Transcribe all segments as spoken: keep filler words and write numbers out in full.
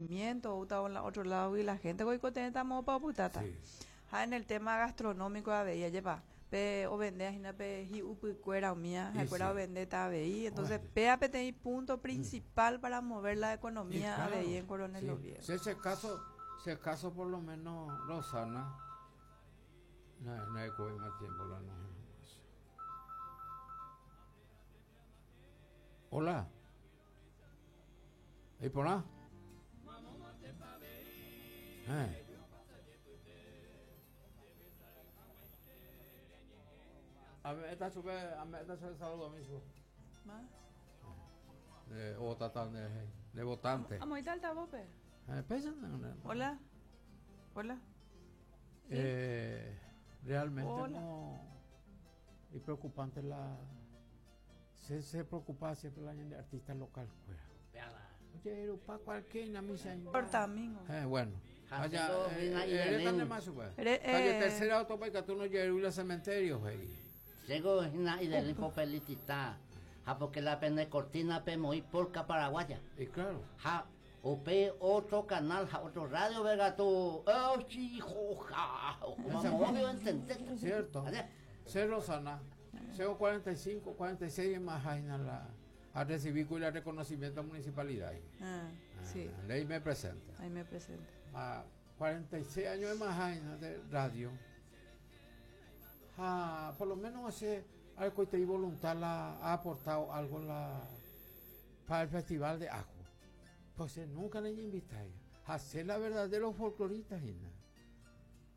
O la otro lado y la gente oikotevẽ pa opytáta. Ha en el tema gastronómico avei ajépa pe ovende hína pe hi'upykuéra umía ha'ekuéra ovendéta avei, entonces péa peteĩ punto principal para mover la economía avei en Coronel Oviedo. Si ese caso, ese caso por lo menos Rosana no, no hay más tiempo la no. Hola. ¿Y por nada? Eh. A ver, esta sube, a ver, esta sube saludo mismo. ¿Más? De o de, de votante. Vamos a ir altavoz, pe. Eh, pesa, Hola. Hola. ¿Sí? Eh, realmente Hola. No. Y preocupante la. Se, se preocupa siempre la de artistas local. Oye, pa cualquier misa. Eh, bueno. Allá, eh, eh, calle tercera autopista, tú no llegas al cementerio, güey. Llego y del felicita, ja porque la pene cortina pe muy porca paraguaya. Y claro. Ja, o pe otro canal, ja, otro radio, verga tú, oh, hijo, ja, como entender. Cierto. Se Rosana, cero cuarenta y cinco, cuarenta y seis más la a recibir con el reconocimiento de municipalidad. Ah, ah, sí. Ahí me presenta. Ahí me presenta. A cuarenta y seis años de más de radio. Ah, por lo menos hace algo y voluntad la, ha aportado algo la, para el festival de Ajo. Pues nunca le invité a hacer la verdadera folclorista.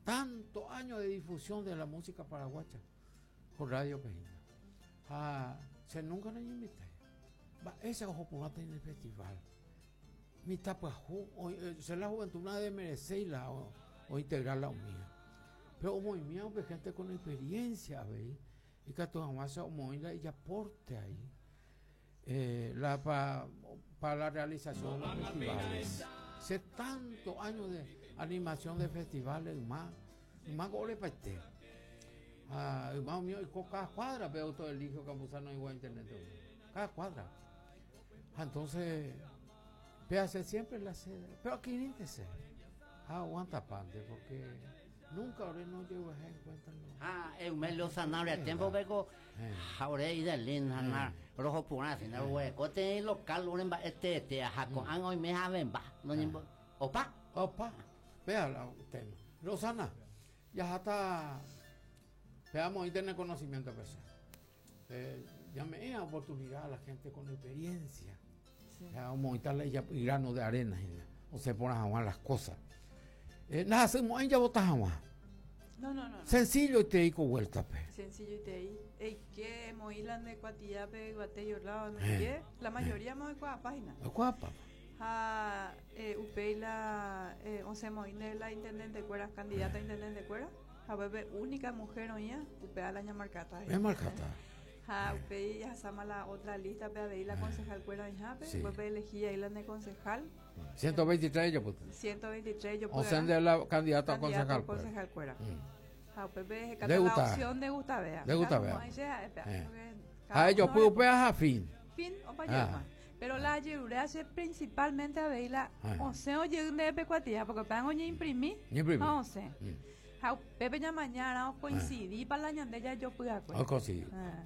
Tantos años de difusión de la música paraguaya por Radio Pejina. Ah, se nunca le invité. Ese ojo por en el festival. Mi tapa, ser la juventud no de merecerla o, o integrarla a mía. Pero como mía, pues gente con experiencia, ¿veis? Y que tu mamá se y aporte ahí eh, la, pa, para la realización de los festivales. Hace tantos años de animación de festivales, más, más goles para este. Ah, más mío, y con cada cuadra veo todo el hijo Campuzano igual internet. Cada cuadra. Entonces, véase siempre la sede. Pero aquí índice. Aguanta pante, porque nunca ahora no llevo a encuentra. Ah, es un melo sanable. Tiempo vengo ahora y de lin, hanar, rojo pura, sin el hueco. Te local, un este, este, jaco, an hoy me javen va. No ni opa. Opa. Vea la tema. Rosana, ya hasta veamos y tener conocimiento personal. Eh, ya me da oportunidad a la gente con experiencia. Sí. Ya vamos a quitarle ya grano de arena, o se ponen a jugar las cosas. Eh, nada, hacemos ya botas agua. No, no, no. Sencillo y te digo vuelta, pe. Sencillo y te digo. Ey, ¿qué? Moilan de Cuatillape, Guatello, lado, no sé. La mayoría más de Cuapágina. De Cuapa. Ja, eh, upei la, eh, once moin de la intendente cuera, candidata a intendente cuera. Ja, bebé, única mujer oía, upea la ñamarcata. Es marcata. Ja, upei ya sama la otra lista, pe a la concejal cuera en jape, después elegí ahí la de concejal. ciento veintitrés yo puse. ciento veintitrés yo puse. O sea, de la candidata a concejal. Concejal cuera. Ja, upei la opción de Gustavea. De Gustavea. A ellos pues upea a fin. Fin o pa Pero la ayuda hace principalmente a ver la once o de pecuatía, porque pan oye imprimí. Once. Ja, Pepe ya mañana coincidí para la ñandella yo pude acuerdo. No coincidí.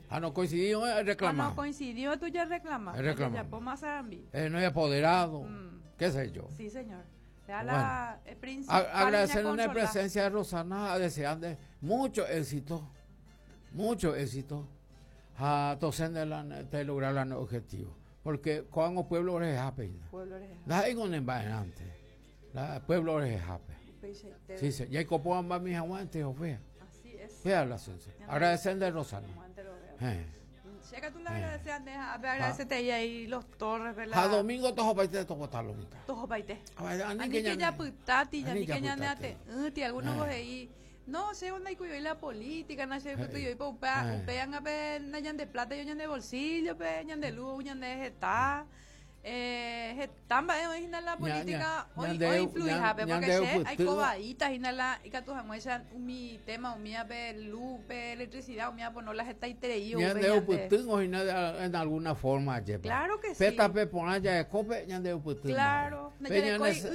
Ah, no coincidió, reclamó. Ah, no coincidió, tú ya reclamas. Reclamó. Ya pon más arambi. Eh, no hay apoderado, mm. qué sé yo. Sí, señor. Vea la bueno, principal. Agradecer la presencia de Rosana, deseando mucho éxito, mucho éxito a tosen de, la, de lograr el objetivo. Porque cuando pueblo es happy. Pueblo es happy. La La pueblo es happy. Sí, sí. Y hay copo ambas mis aguantes, o fea. Así es. Vea la sensa. Agradecer de Rosana. Eh. Checa tú la agradeces, agradecete ahí ahí los torres, ¿verdad? A domingo tojo paite tojo talomita. Tojo paite. Ani que ya putati, ya ni que ya neate, ti algunos vos ahí. No sé dónde hay que la política, no sé qué yo y pa upean a pe na de plata, yo de bolsillo, pe ñan de luz, ñan de jeta. Eh, heta mba'e oĩ hína la política oinfluihápe porque che aikovaíta hína la ikatu hag̃uáicha umi tema umíape luz pe electricidad umía pono la hetaiterei oupe ñande upytýngo hína en alguna forma ajépa Claro que sí. Pe tape porã jarekópe ñande upytýma Claro, pe ñane